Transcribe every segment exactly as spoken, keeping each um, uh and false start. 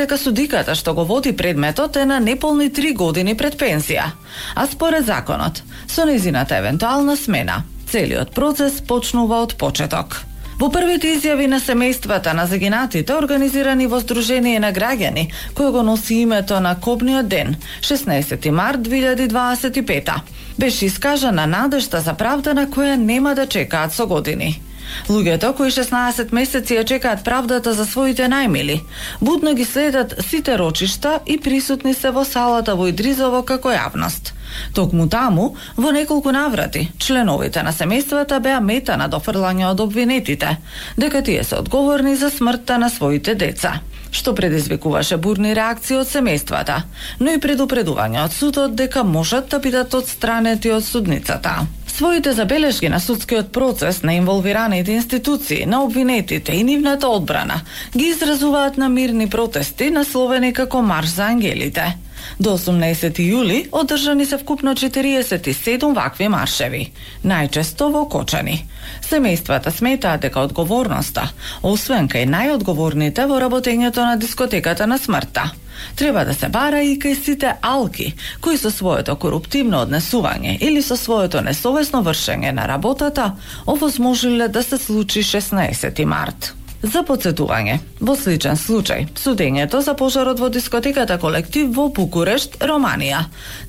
дека судиката што го води предметот е на неполни три години пред пензија, а според законот, со нејзината евентуална смена, целиот процес почнува од почеток. Во првите изјави на семејствата на загинатите, организирани во Сдружение на граѓани, кој го носи името на Кобниот ден, шеснаесети март две илјади дваесет и пета, беше искажана надежта за правда на која нема да чекаат со години. Луѓето кои шеснаесет месеци ја чекаат правдата за своите најмили, будно ги следат сите рочишта и присутни се во салата во Идризово како јавност. Токму таму, во неколку наврати, членовите на семејствата беа мета на дофрлање од обвинетите, дека тие се одговорни за смртта на своите деца, што предизвикуваше бурни реакции од семејствата, но и предупредување од судот дека можат да бидат одстранети од судницата. Своите забелешки на судскиот процес на инволвираните институции, на обвинетите и нивната одбрана ги изразуваат на мирни протести насловени како Марш за ангелите. До осумнаесети јули одржани се вкупно четириесет и седум вакви маршеви, најчесто во Кочани. Семејствата сметаат дека одговорноста, освен кај најодговорните во работењето на дискотеката на смртта, треба да се бара и кај сите алки, кои со своето коруптивно однесување или со своето несовесно вршење на работата овозможиле да се случи шеснаесети март. За подсетување, во сличен случај, судењето за пожарот во дискотеката Колектив во Букурешт, Романија,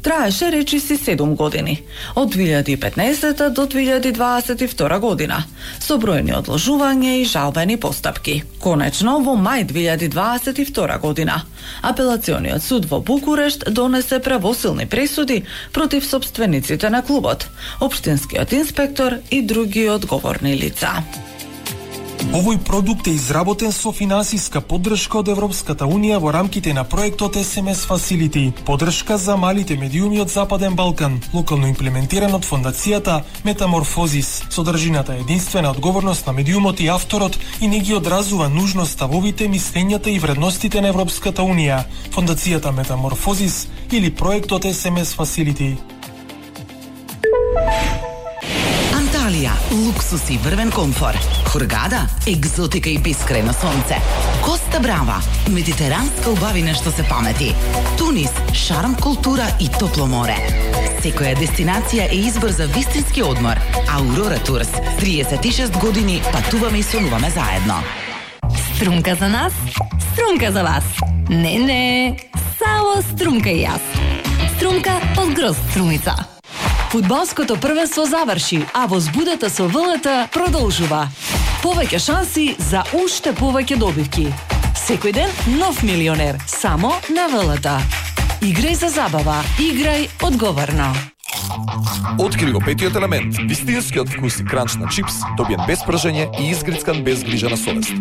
траеше речиси седум години, од две илјади и петнаесета до две илјади дваесет и втора година, со бројни одложувања и жалбени постапки. Конечно, во мај две илјади дваесет и втора година, Апелациониот суд во Букурешт донесе правосилни пресуди против собствениците на клубот, општинскиот инспектор и други одговорни лица. Овој продукт е изработен со финансиска поддршка од Европската Унија во рамките на проектот ес ем ес Facility, поддршка за малите медиуми од Западен Балкан, локално имплементиран од фондацијата Метаморфозис. Содржината е единствена одговорност на медиумот и авторот и не ги одразува нужно ставовите, мислењата и вредностите на Европската Унија, фондацијата Метаморфозис или проектот ес ем ес Facility. Анталија, луксус и врвен комфор. Хургада, екзотика и бескрајно сонце. Коста Брава, медитеранска убавина што се памети. Тунис, шарм, култура и топло море. Секоја дестинација е избор за вистински одмор. Аурора Турс, триесет и шест години патуваме и сонуваме заедно. Струмка за нас, струмка за вас. Не, не, само струмка и јас. Струмка од Гроз Струмица. Фудбалското првенство заврши, а возбудата со ВЛТ продолжува. Повеќе шанси за уште повеќе добивки. Секој ден нов милионер, само на ВЛТ. Играј за забава, играј одговорно. Откри го петиот елемент, вистинскиот вкус и кранч на чипс, добиен без пржење и изгрицкан без грижа на совест.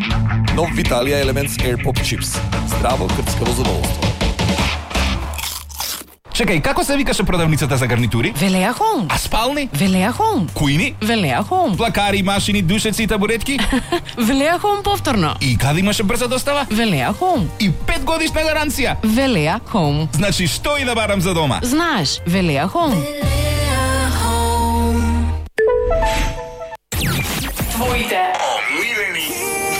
Нов Виталија Елементс Air Pop Chips. Здраво крцкаво задоволство. Чекај, како се викаше продавницата за гарнитури? Велеа Хоум. А спални? Велеа Хоум. Кујни? Велеа Хоум. Плакари, машини, душеци и табуретки? Велеа Хоум повторно. И каде имаше брза достава? Велеа Хоум. И пет годишна гаранција? Велеа Хоум. Значи, што и да барам за дома? Знаеш, Велеа Хоум. Твоите